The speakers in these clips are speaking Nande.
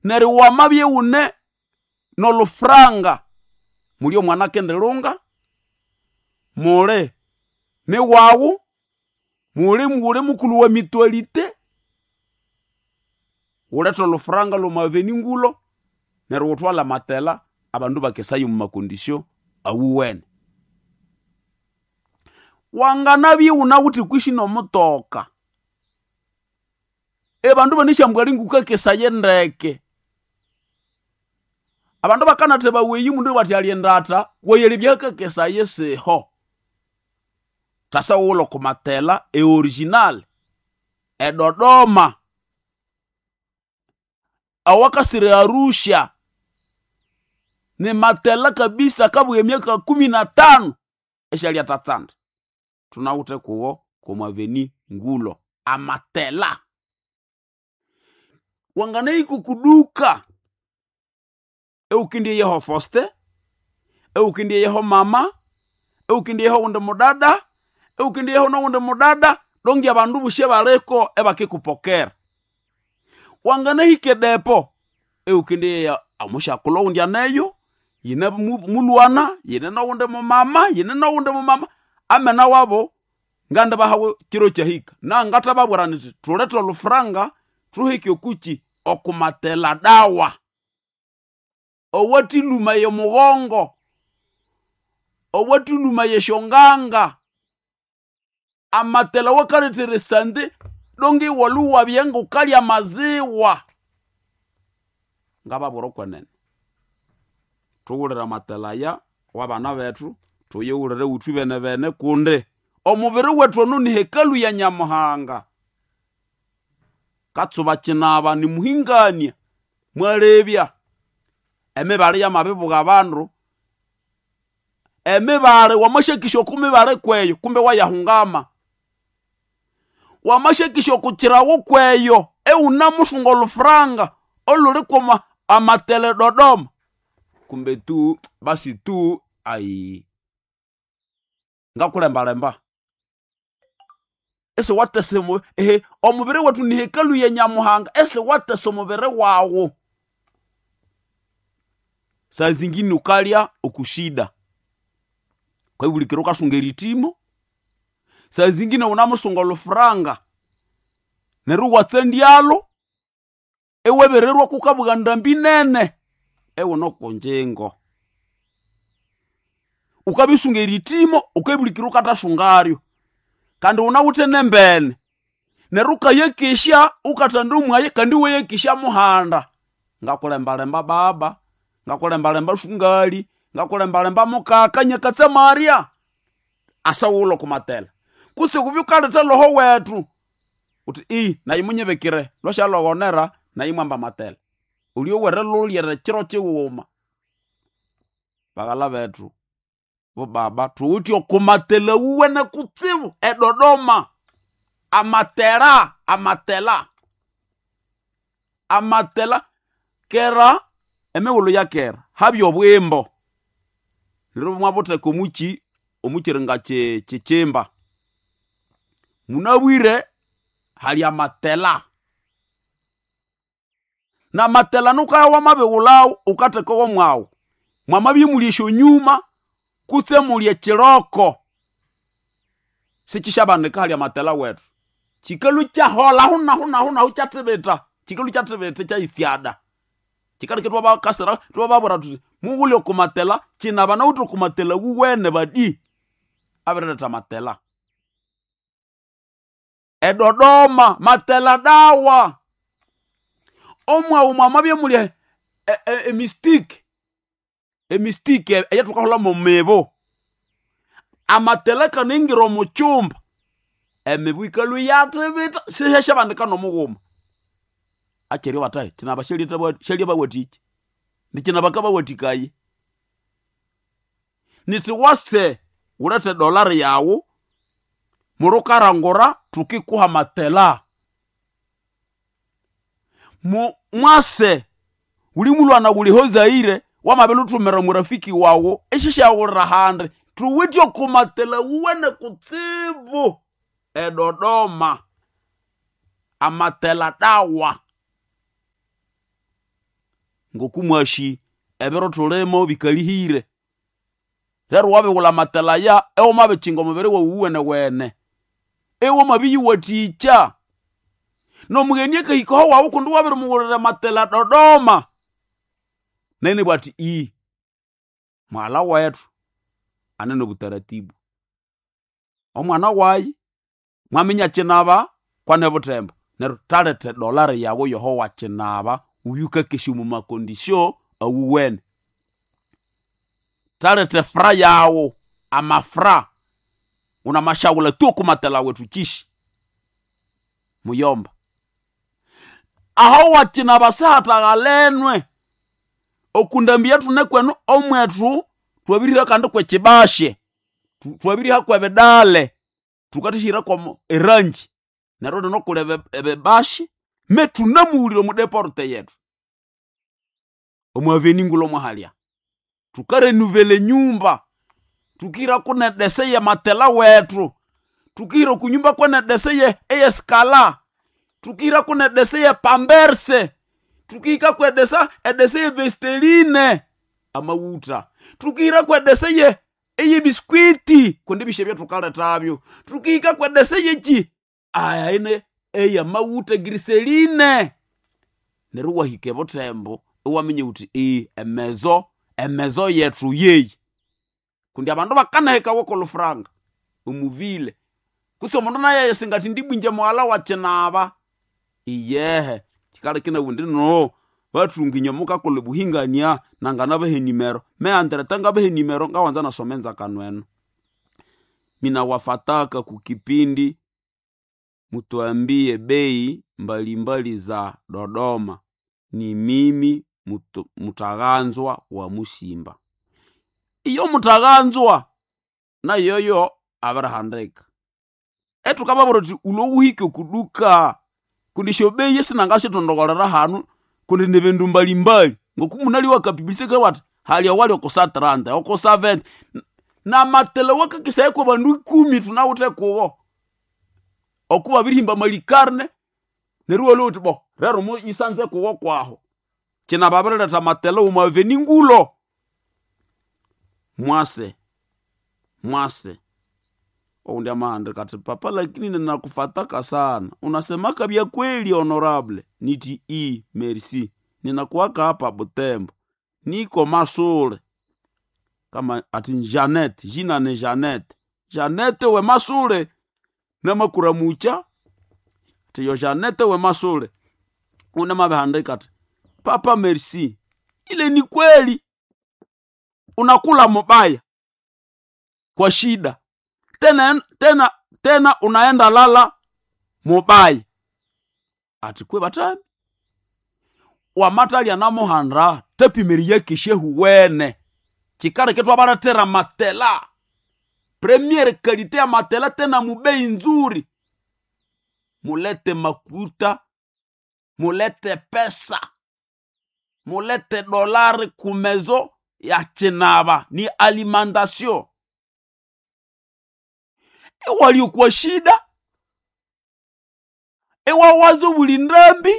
Neryo wamabya iwune n'olufuranga, muli omwana akendilunga, muli niwawu, muli wuli mukulhu wa mutualité, wulhethe olhufuranga lh'omo avenue Ngulo neryo wuthwalhe amatela abandu ibakesaya omwa macondition awuwene. Wanganabya iwunawithe kwisi n'omutoka, abandu ibanasyamba alinga wukakesaya ndeke. Abandu bakanatha baweyi omundu bathi alya endatha, wayalebya ahakakesaya isiho. Thasa wughulhe oko matela e original e Dodoma, awakasira e Arusha, ni matela kabisa akabugha emyaka 15 isialyathatsanda. Thunawithe kuwo kw'omo avenue Ngulo, amatela. Wanganahika oku duka iwukendieyaho Faustin, iwukendieyaho mama, iwukendieyaho owundi mudada, iwukendieyaho n'owundi mudada, donge abandu bosi abaliko ibakikupokera. Wanganahika edepo iwukendieya omusyakulhu owundi aneyo, yine mulhwana, yine n'owundi mumama, yine n'owundi mumama, amena wabo ngandibahawo kiro kyahika. Nangathababwira nyithi thulethe olhufuranga thuhike okukyi okumatela dawa. Owathilhuma y'omughongo, owathilhuma y'esyonganga, amatela awakalethera esande donge iwalhwa iwabya ngawukalya amaziwa. Ngababwira okwenene, thughulire amatela aya wabana bethu, thuyighulire withwe benebene kundi omubiri wethu ono ni hekalu ya Nyamuhanga. Katsuba kinaba nimuhingania, mwalebya emibali yamabibuga abandu, emibali wamasyakisya oko mibali kweyo kumbe wayahungama. Wamasyakisya oko kyirago kweyo iwunamusunga olhufuranga olhuli kwama amatela e Dodoma, kumbe tu basi tu ayi ngakulembalemba. Isiwathesa omubiri wethu ni hekalu ya Nyamuhanga, isiwathesa omubiri wawu. Saa zingine wukalya oku shida, wukabya wukasunga erithimo, saa zingine wunamusunga olhufuranga neryo iwatsandyalho iwabirirwa kukabugha endambi nene iwune oko ngyingo. Wukabya erithimo wukabulikira wukathasungaryo kandi wunawithe n'embene neryo wukayakesya wukathanda omwaya kandi iwayakesya muhanda. Ngakulembalemba baba, ngakulembalemba sungali, ngakulembalemba mukaka nyakatsamarya, asa wughulhe oko matela. Kutse wubye wukaletha loho wethu wuthi nayi munyibikire lwasyalhoghonera nayi mwamba amatela. Olyowere lhulyere ekiro kyighuma. Baghalha bethu, bobaba thuwithe oko matela awuwene kutsibu e Dodoma. Amatela, amatela, amatela kera emighulhu ya kera habya obwimbo neryo imwabutheka omukyi omukyiringa kyikyimba. Munabwire hali amatela. N'amatela wukabya wamabighulhawo wukatheka womwawu. Mwamabya imuli esyonyuma kutse imuli ekyiroko, sikyisyabanika hali amatela wethu. Kyikalhwa ikyaholha ahu nahu nahu nahu ikyathibitha, kyikalhwa ikyathibitha ikyayitsyada. Kyikaleka ithwabakasira ithwababwira thuthi mughule oko matela kina banawithe oko matela awuwene badi abiriletha amatela. E Dodoma matela dawa. Omwawu mwamabya imuli emistiki, emistiki eyathukaholha mwemibu, amatela akanayingira omo kyumba, emibu yikalhwa iyathibitha siyasyabanika n'omughuma. Akyeryo bathahi kinaba syalyabawathikya, nikyina bakabawathikaya. Nithi wase wulhethe edollar yawu mulhukarangura thukikuha amatela. Mwase wuli mulhwana wuli eho Zaire wamabilhuthumira omurafiki wawu isisyaghulira ahandi, thuwithe oko matela awuwene kutsibu e Dodoma, amatela dawa. Ngoku mwashi ebiro thulimo bikalihire. Rero wabighulha amatela aya ewamabikinga omubiri wawu wenewene. Ewamabiyiwathikya. N'omugheni akahika aho wawu kundi wabirimughulira amatela Dodoma. Nayo inabugha athi mughalha wethu ane n'obutaratibu. Omwana wayi mwaminya kyinaba kwane Butembo. Neryo thaletha edollar yawu yoho wakyinaba wubye wukakesya omu macondition awuwene. Thaletha efra yawu, amafra wunamasyawulha tu oko matela wethu kyishi. Muyomba, aho wakyinaba sihataghalenwe. Okundambi eyathune kwenu omwethu thwabirihira kandi kwekyibashe, thwabiriha kwebidale, thukathasyahira kwomo erangi. Neryo lino kuli ebibashi me thunamughulire omu deporte yethu. Omu avenue ngulho mwahalya. Thukarenuvela enyumba, thukihirako nedese yamatela wethu, thukihira okunyumba kwenedese eyesikala, thukihirako nedese yepamberse, thukihikako edesa edese yevesteline amawutha, thukihirako edese ye eyebiskwiti kundi ebihya ebyathukalethabyo, thukihikako edese yekyi ine eyamawutha griseline. Neryo iwahika ebuthembo iwaminya wuthi emezo emezo yethu yeyi. Kundi abandu bakanahekawa okwolufuranga omuvile. Kutse omundu naye ayisinga athi ndibwingye mughalha wa kyinaba. Iyehe kyikaleka inabugha indi no bathunga inywe mukakolha obuhingania nanganabaha enimero. Meyandireta ngabaha enimero ngawanza nasoma enzakano eno. Minawafataka kukipindi mutuambie bei mbalimbali za Dodoma. Ni mimi mutaghanzwa wa Musimba. Iyo mutaghanzwa nayoyo abirihandika. Ethukababwira thuthi wulhwe wuhike okuduka kundi esyobei sinangasyithondogolera hanu kundi nibindu mbalimbali. Ngoku munalyowa akapiblisite kabugha athi hali owali oko sa 30, oko sa 20. Namatela awakakesaya kwabandu ikumi thunawithe kubo. Oku babirihimba amalikarne neryo iwalhwa wuthi bo rero muyisanze kuwo kwaho. Kyina babiriletha amatela omu avenue ngulho. Mwase, mwase owundi amahandika athi papa lakini ninakufataka sana unasemaka vya kweli honorable. Nithi merci ninakuwaka hapa Butembo niko Masule. Kama athi Janete, jina ni Janete. Janete we Masule namakuramukya athi yo Janete we Masule. Undi amabihandika athi papa merci ile ni kweli unakula mubaya kwa shida tena tena tena unaenda lala mubaya. Athi kwe bathami wamathalya namuhanda thapimiriye kesyehuwene. Kyikaleka ithwabalethera amatela premiere kalite ya matela tena mubei nzuri. Mulete makuta, mulete pesa, mulete dolari kumezo ya kyinaba ni alimentation. Iwalya okwa shida, iwawaza obuli ndambi,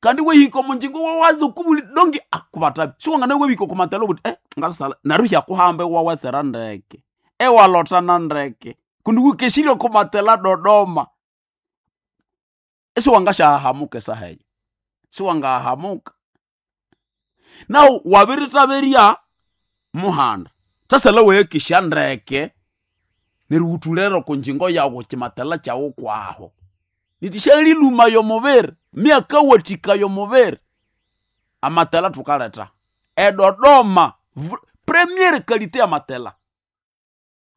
kandi iwahika omunjingo iwawaza okubuli donge kubatami siwangana wabihika oko matela ubuthi ngasala neryo hyakuhamba iwawatsera ndeke, iwalothana ndeke kundi wukesirye oko matela Dodoma. Isiwangasyahahamuka esaha eyo, siwangahahamuka. Nawu wabirithaberya muhanda, thasala wayakesya ndeke neryo wuthulere oko njingo yawu kyimatela kyawu kwaho. Nithi syalilhumaya omubiri, myakawathikaya omubiri. Amatela thukaletha eDodoma premiere kalite yamatela.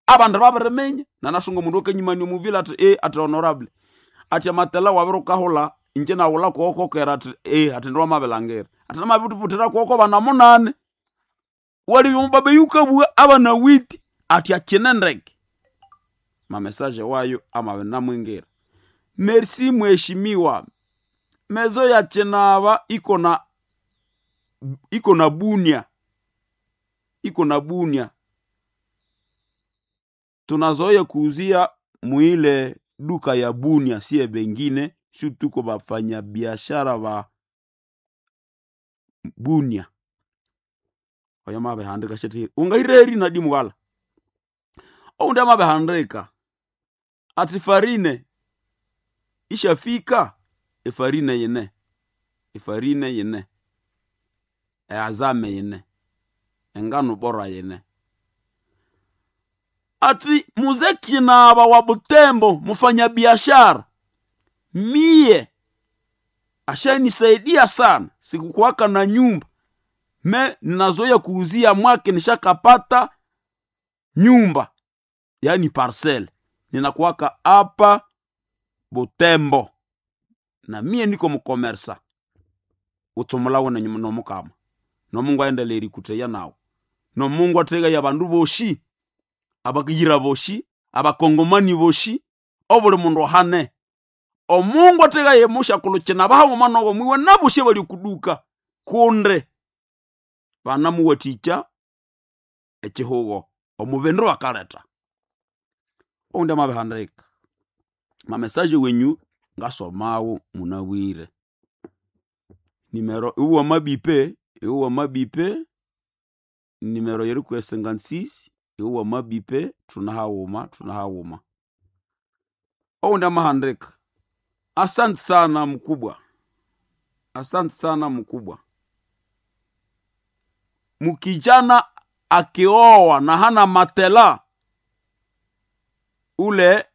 Abandu babiriminya nanasunga omundu akanyimania omuvile athi athi honorable athi amatela wabirikahulha ingye naghulha kuwo kokera athi athi ndiwamabilangira. Athi namabiriputhira kuwo kwabana munani. Walibya omubaba yukabugha abana witi athi akyine ndeke. Mamessage wayo amabinamwingira. Merci mheshimiwa, mezo ya kyinaba iko na iko na Bunia, iko na Bunia. Tunazoea kuuzia muile duka ya Bunia, siye bengine, shu tuko bafanyabiashara ba Bunia. Oyo mabihandika shetihire ungahireri nadi mughala. Oundi amabihandika ati farine ishafika efarine yine, efarine yine, eazame yine, engano bora yine. Ati muze Kinaba wa Butembo, mfanyabiashara, mie ashanisaidia sana, sikukuwaka na nyumba me ninazoya kuuzia mwake, nishakapata nyumba yani parcel, ninakuwaka hapa Butembo na mie niko mukomersa utsumulawo nomukama nomungu aendelee erikuteya nawe nomungu athegaya abandu boshi abakiyira boshi abakongomani boshi obuli mundu ohane omungu athegaya mushakulhu kinabaha nowo mwiwe naboshi abali okuduka kundi banamuwathikya ekihugo omubindu bakaletha. Oundi amabihandika mamesaje wenyu ngasomawo munabwire nimero iwe wamabipe, iwe wamabipe nimero yeri kwe 56 iwe wamabipe thunahaghuma thunahaghuma. Oundi amahandika asante sana mkubwa, asante sana mkubwa. Mukijana akioa na hana matela ule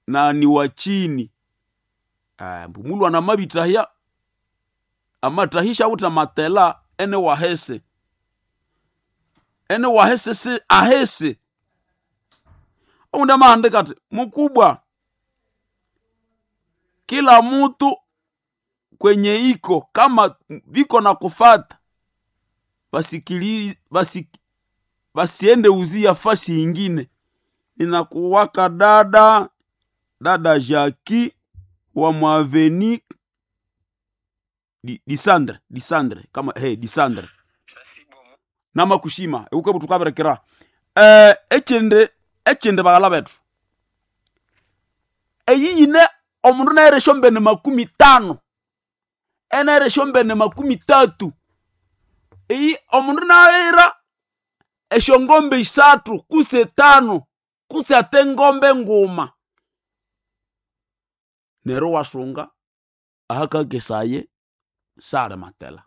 na ni wa chini mulu anamabitahya amatahisha uta matela ene wahese ene wahese si ahese. Oundi amahandika ati mkubwa, kila mutu kwenye iko kama viko na kufata basikili basiende uzia fasi ingine. Ninakuwaka dada dada Jaki wa mwaveni Disandre Disandre kama hey, Disandre namakushima eukebu tukaberekera ekindi ekindi baghala bethu eyi yine omundu naira esyombene 50 enaira esyombene 30 eyi omundu naira esyongombe 3 kutse 5 kutse ate engombe nguma neryo iwasunga ahakakesaye sali matela.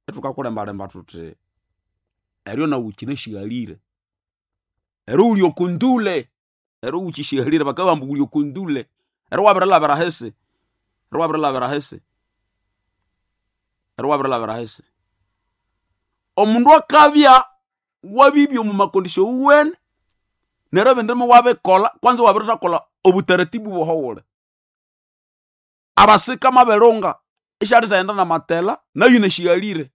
Ithukakulembalemba thuthi eryo nawu wukyinasyihalire eryo wuli okundule eryo wukyisyihalire bakabugha ambu wuli okundule eryo wabirilhabira ahisi eryo wabirilhabira ahisi eryo wabirilhabira ahisi. Omundu akabya wabibya omu makondisyo owuwene neryo ebindi iwabikolha kwanza iwabirithakolha obutaratibu bwohowule. Abasika mabilunga isyalithayenda namatela nayu yinasyihalire.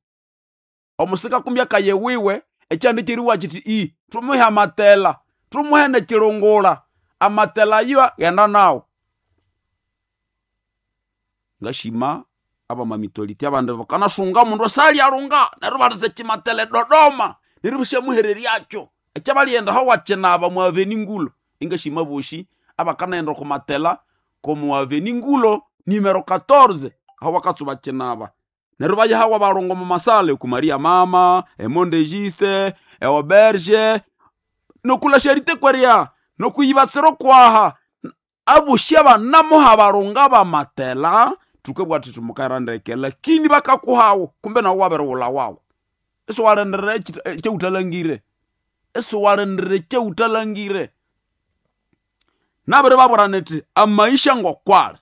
Omusika kumbi akaya ewiwe ekyanda ekyeriwa kyithi i thumuhe amatela thumuhe nekyilungula amatela ayo ghenda nawu. Ngashima abamamituality abandi bakanasunga omundu asalyalinga neryo ibaletha ekyimatela eDodoma neryo ibasyamuhereryakyo ekyabalyaghenda ahawakyinaba omwa aveni ngulo. Ingashima abosi abakanaghenda oko matela komu aveni ngulo nimero 14 aho bakatsuba kyinaba neryo ibayahawa abalhunga omu masale oku Maria mama, emonde Juste, eauberge nokula charité kwerya nokuyibatsira okwaha abosi abanamuha abalhunga bamatela thukabugha thuthi mukayira ndeke lakini bakakuhawo kumbe nawu wabirighulha wawu isiwalindirira ekyawuthalangire isiwalindirira ekyawuthalangire. Nabiribabwira nithi amaisha ngokwali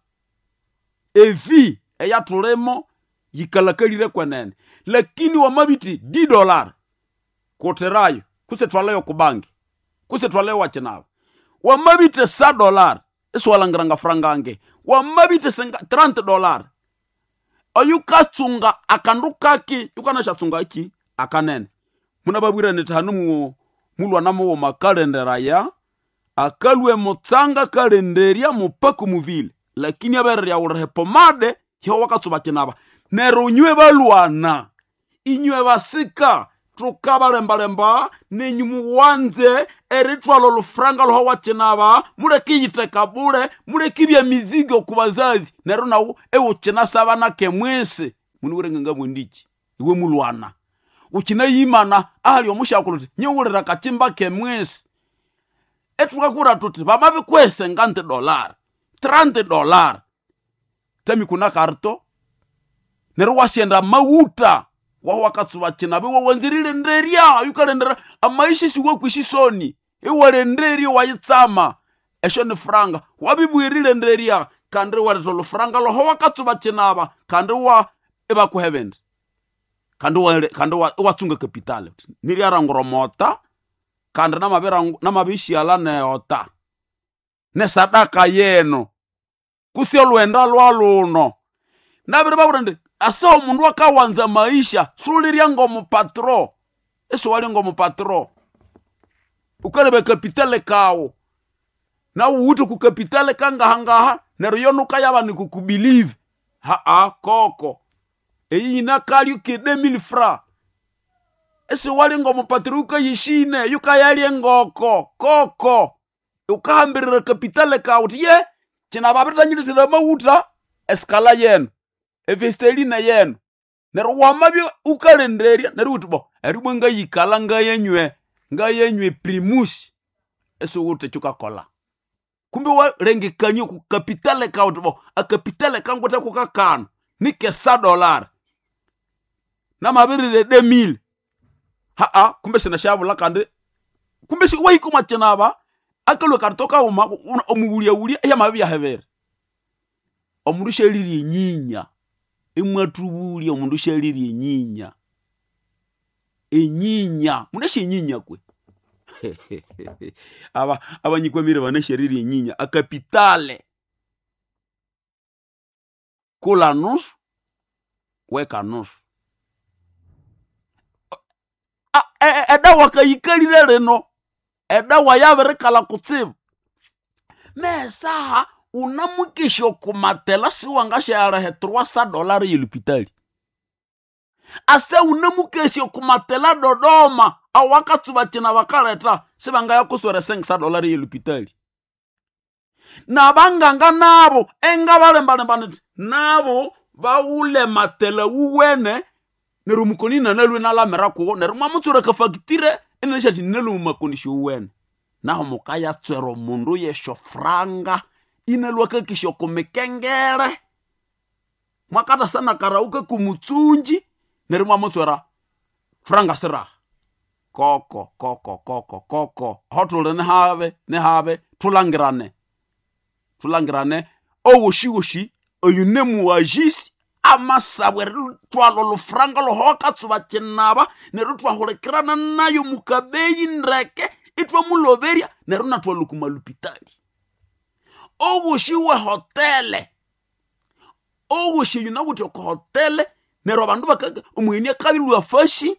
evi eyathulimo yikalakalire kwenene lakini wamabithi $10 kuthirayo kutse thwalayo okubangi kutse thwalayo wakyinaba wamabithe $100 isiwalhangira ngafrangange wamabithe $30 oyukatsunga akandu kaki yukanasyatsunga ki akanene. Munababwira nithi hanu mulwana mughuma akalenderaya akalhwa emutsanga akalenderya mupaka omuvile lakini abiriryaghulira epomade yoho wakatsuba kyinaba. Neryo inywe balwana inywe basika thukabalembalemba nenyu muwanze erithwalha olufuranga lwaho wakyinaba muleke iyitheka bule muleke ibya mizigo oku bazazi neryo nawu iwukyinasaba nake mwisi. Muniwire ngangabugha indiki. Iwe mulwana. Ukinayimana ahali omushakulu uti nyiwulira kachimba kemwesi. Etukakura tuti vamavikwese ngante dollar, $30. Tami kuna karto. Neryo wasienda mauta waho wakatsuba chinabe wawanzirire nderya yukalendera amaisha siwe kwishisoni iwalenderya wayitsama esho ni franga wabibwirire nderya kandi waletha olufranga loho wakatsuba chinaba kandi wa ibakuhebende kandi kandi watsunga kapitale niryarangura mota kandi namabishyala neota nesadaka yeno kusya olwenda lwaluno nabiri babura ndi asa omundu akawanza maisha sulirya ngomupatro esiwali ngomupatro ukaleba kapitale kawo nawe uwithe kukapitale kangahangaha neryo yonuka yaba nikukubilive haa koko eyi yinakalyo ke 2000 francs esiwali ngomupatro ukayishine yukayalya engoko koko ukahambirira kapitale kawo uthi ye kina babiritanyirithira amawutha esikala yenu evesteline yenu neryo wamabya ukalenderya neryo uthi bo eribwa ngayikala ngayanywe ngayanywe primus esiwuthe kyukakola kumbe walengekania ku kapitale kawu uthi bo akapitale kangwithe kukakano nikesa dollar namabirire 2000 haa kumbe sinasyabulha kandi kumbe wahika omwa kinaba akalhwa karito kaghuma omughulyaghulya iyamabya hebere omundu syalirya enyinya imwathubulya omundu syalirya enyinya enyinya munasya enyinya kwe aba abanyikwamire banasyarirya enyinya akapitale kula nusu weka nusu edawa kayikalire lino edawa yabirikalha kutsibu nesaha unamukesya okumatela siwangasyalehe $300 yelupitali ase unamukesya okumatela Dodoma awakatsuba kina bakaletha sibangayakuswera $5 yelupitali nabanganga nabo engabalembalemba nithi nabo bawule matela wuwene neryo omukoni nanalwe nalamira kuwo neryo mwamutswera akafakitire inanisya ninalwe mumakondisyo wuwene naho mukayatswera omundu yeshofranga inalwa akakisya okumikengere mwakathasana karauka kumutsunji neryo mwamutswera franga siraha koko koko koko koko aho thuli nihabe nihabe thulangirane thulangirane owoshiwoshi oyu nemuwajisi amasabwe erithwalha olufuranga loho wakatsuba kinaba neryo thwahulikirana nayo mukabeyi ndeke ithwamuloberya neryo nathwalha okumalupitali owoshi we hotele owoshi oyu nawithe oko hotele neryo abandu bakaka omugheni akabilwa fashi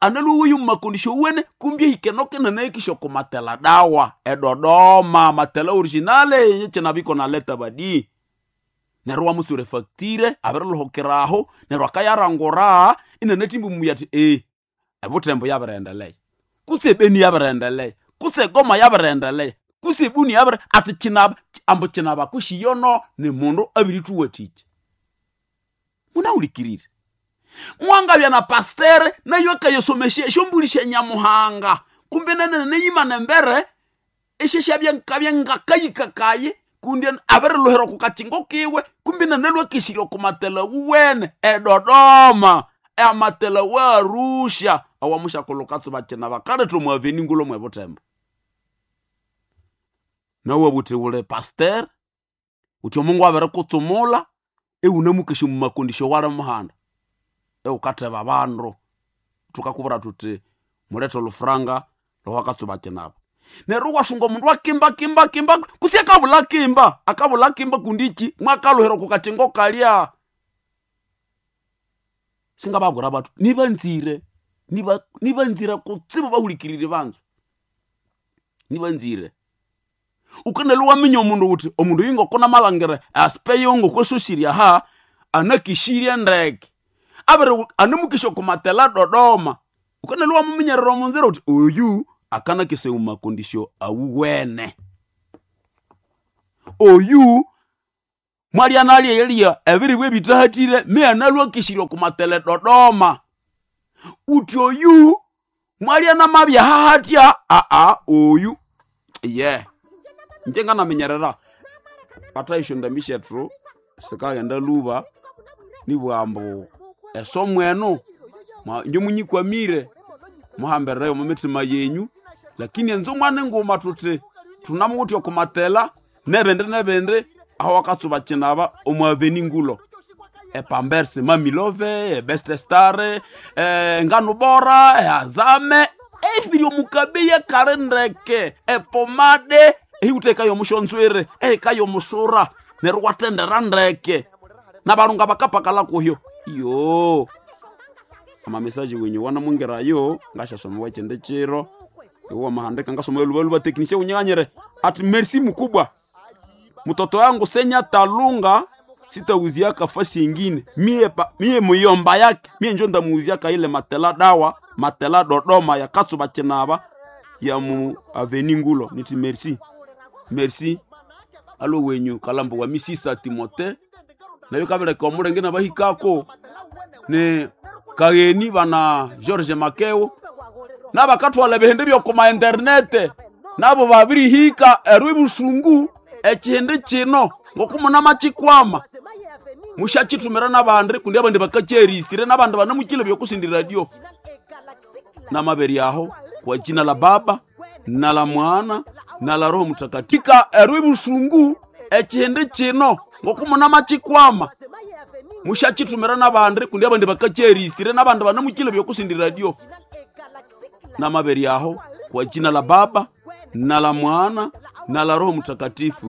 analuwuyu mumakondisyo wuwene kumbi ehikenoke nanahikisya okumatela dawa edodoma matela originale yekinabiko naleta badi neryo wamutsura efactire abirilhukiraho neryo akayarangura inanathimba omuya athi ebuthembo yabirendelea kutse ebeni yabirendelea kutse egoma yabirendelea kutse ebuni yabire athi kinaba ambu kinaba kushiyono ni mundu abirithuwathikya munahulikirire mwangabya na pastere nayo akayasomesya esyombuli sya nyamuhanga kumbe nanene neyimana embere esyesyabya nkabya ngakayikakaye kundi abirilhuhira oku kakingo kiwe kumbe nanalwa akesirya oku matela wuwene edodoma amatela wa Arusha awamushakulhu katsuba kina bakaletha omu aveni ngulho mwebuthembo nawe buthi wuli pastere uthi omungu abirikutsumula iwunamukesya omu makondisyo wali muhanda iwukatheba abandu thukakubwira thuthi mulethe olufuranga lowakatsuba kinaba neryo iwasunga omundu akimba kimba kimba kutse akabulha kimba akabulha kimba kundi iki mwakalhuhira oku kakingo kalya singababwira bathu nibanzire nibanzire kutsibu bahulikirire banzu nibanzire ukanalwa waminya omundu uthi omundu oyu ngoko namalhangira aspeyo ngokwasosirye aha anakishirye ndeke abiri anamukesya okumatela Dodoma ukanalwa wamuminyerera omunzira uthi oyu akanakesaya omumakondisyo awuwene oyu Mwalya nalya ebiribwa ebitahatire mianalwakishirya okumatela Dodoma. Uthi oyu mwalya namabya hahatya aa oyu ye inje nganaminyerera bathaisyo ndambi syethu sikaghenda lhuba nibugha ambu esomo eno inje munyikwamire muhambireyo omo mithima yenyu lakini enzumwa ninguma thuthi thunamuwithe okumatela nebindi nebindi aho wakatsuba kinaba omu aveni ngulo epamberse mamilove ebest star engano bora eazame ebiri omukabeya kali ndeke epomade ehiwutha eka yomushonzwere ehika yomusura neryo watendera ndeke nabalunga bakapakala kuhyo iyo amamesaje wenyu wanamwingirayo ngashasomewa ekindi kiro iwe wamahandika ngasoma lubaluba teknisia unyighanyire ati merci mukubwa mtoto wangu senya talunga sitauziaka fasi ingine mie, pa, mie muyomba yake mie njo ndamuuziaka ile matela dawa matela Dodoma ya katsuba chinaba ya mu aveni ngulo niti merci merci alo wenyu kalambo wa misisa Timote nayo kabeleka omulenge nabahikako ne kagheni bana George Makeo nabakathwala ebihindi byokuma internete nabo babirihika eryo ebusungu ekihindi kino ngokumunamakikwama mushakitumira nabandi kundi abandi bakakyeristire nabandi banamukile byokusindi radio namaberi aho kwa jina la Baba na la Mwana na la Roho Mtakatifu eryo ebusungu ekihindi kino ngokumunamakikwama mushakitumira nabandi kundi abandi bakakyeristire nabandi banamukile byokusindi radio namaberi aho kwa jina la Baba na la Mwana na la Roho Mtakatifu.